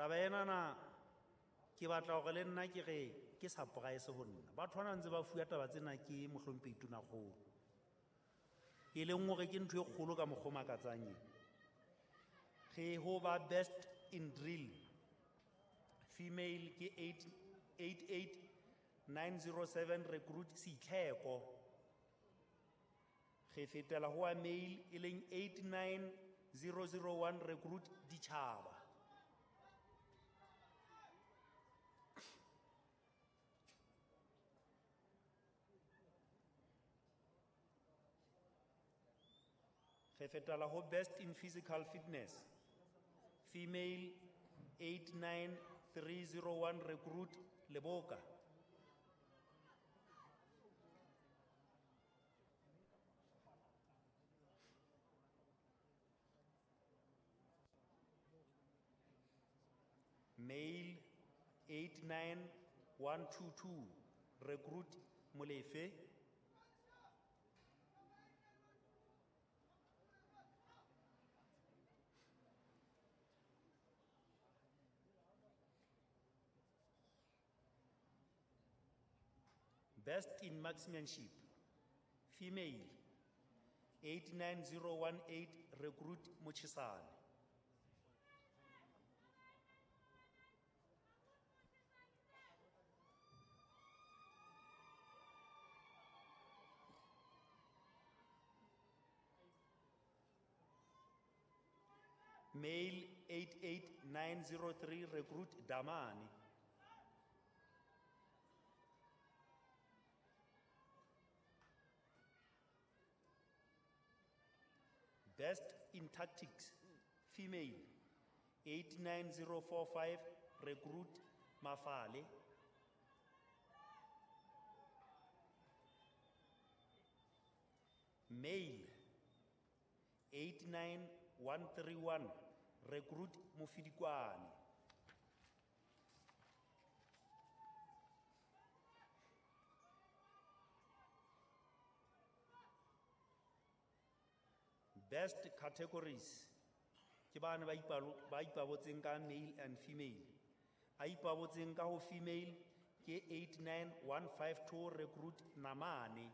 Taba enana ke batla hore le nna ke re ke surprise ho nna. Batho bana ntse ba fuwa taba tsena ke mohlomphehi Tonakgolo. E leng hore ke ntho e kgolo ka mokgwa o makatsang e. Re ho ba best in drill. Female ke 88907 recruit Sitlheko. Re fetela ho wa male e leng 89001 recruit Ditjhaba. Re fetela ho best in physical fitness. Female 89301 recruit Leboka. Male 89122 recruit Molefe. Best in marksmanship, female, 89018, recruit Mochisane. Male 88903, recruit Damani. Best in tactics, female, 89045, recruit Mafale. Male, 89131, recruit Mofidikwane. Best categories, ke bana ba ipabotseng ka male and female. A ipabotseng ka ho female ke 89152, recruit Namane.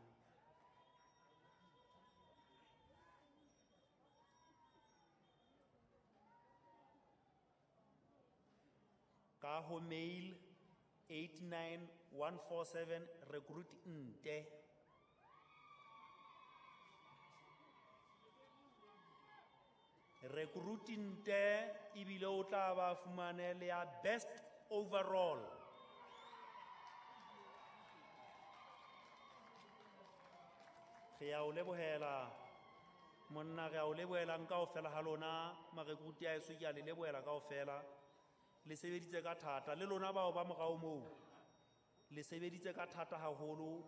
Ka ho male 89147, recruit Nte. Recruit Nte ebile o tla ba fumane le ya best overall. Re a o lebohela monna, re a o lebohelang kaofela ha lona marekruti a eso, ke a le lebohela kaofela. Le sebeditse ka thata, le lona bao ba morao moo le sebeditse ka thata haholo,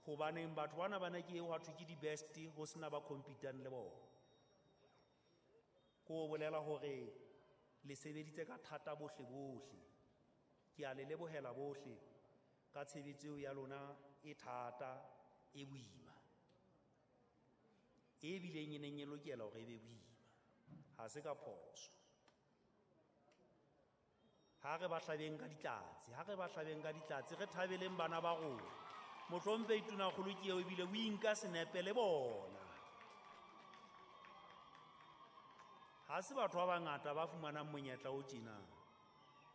hobaneng batho bana ba ne ke eo ha thwe ke di-best ho sena ba competang le bona. Ko bolela hore le sebeditse ka thata bohle bohle. Ke a le lebohela bohle ka tshebetso eo ya lona e thata, e boima, e bileng e neng e lokela hore e be boima. Ha se ka phoso. Ha re ba hlabeng ka ditlatse, ha re ba hlabeng ka ditlatse, re thabeleng bana ba rona. Mohlomphehi Tonakgolo ke eo ebile o inka senepe le bona. Ha se batho ba bangata ba fumanang monyetla o tjena.